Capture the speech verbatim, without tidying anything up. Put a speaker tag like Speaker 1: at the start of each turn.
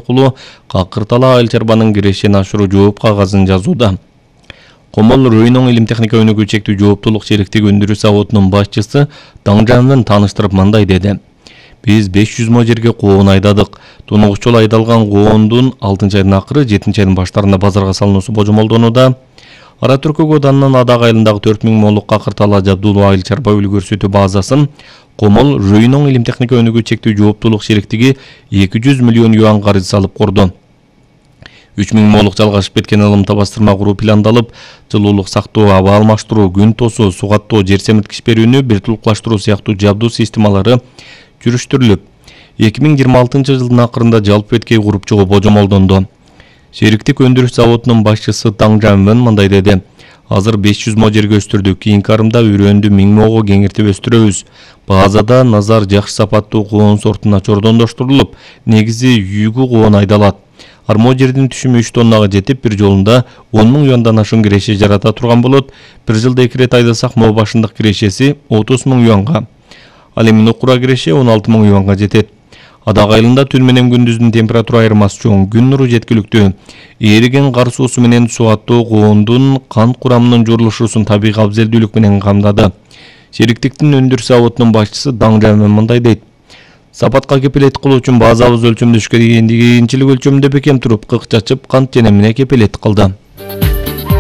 Speaker 1: аркылуу Какыртала айыл чарбанын кирешин ашыруу жооп кагазын жазууда. Комол Ройнон илим техника өнүгүү чектүү жооптулук шериктиги өндүрүү заводунун башчысы Даңжанын тааныштырып мындай деди. Биз беш жүз мо жерге коон айдадык. Тунугучул айдалган коондун алтынчы айдын акыры, жетинчи айдын баштарында базарга салынуусу божомолдонууда. Ара Түркөк ауданынын Адак айылындагы төрт миң молук Какыртала Жабдулуу айыл чарба үй көрсөтүү базасын Комол Ройнон илим техника өнүгүү чектүү жооптулук шериктиги эки жүз миллион юан карыз салып курду. үч миң молук жалгашып кеткен ылымта бастырма куруу пландалып, жылуулук сактоо, аба алмаштыруу, күн тосуу, суу каттоо, жер семирткич берүүнү бир тулукташтыруу сыяктуу жабдуу системалары жүрүштүрүлүп, эки миң жыйырма алтынчы жылдын акырында жалпы эткей куруп чыгуу божомолдонду. Шериктик өндүрүш заводунун башчысы Даңжан мындай деди. Азыр беш жүз мо жерге өстүрдүк, кийинки арымда үрөндү миң мого кеңиртип өстүрөбүз. Базада назар жакшы сапаттуу коон сортуна чордондоштурулуп, негизи үйгү коон айдалат. Армо жердин түшүмү үч тоннага жетип, бир жолунда он миң юандан ашуун киреше жарата турган болот. Бир жылда эки рет айдасак, мо башындык кирешеси отуз миң юанга. Ал эми нукура киреше он алты миң юанга жетет. Адак айылында түн менен күндүздүн температура айырмасы чоң, күн нуру жеткиликтүү. Ээриген кар суусу менен суу аттоо коондун кант курамынын журулушуусун табигый абзелдүүлүк менен камдады. Шериктиктин өндүрүш заводунун башчысы Даңжан мындай дейт. Сапатка кепилет кылуу үчүн базабыз өлчөмдөшкө кийинчилик өлчөмүндө бекем туруп, кык чачып, кант женемине кепилет кылды.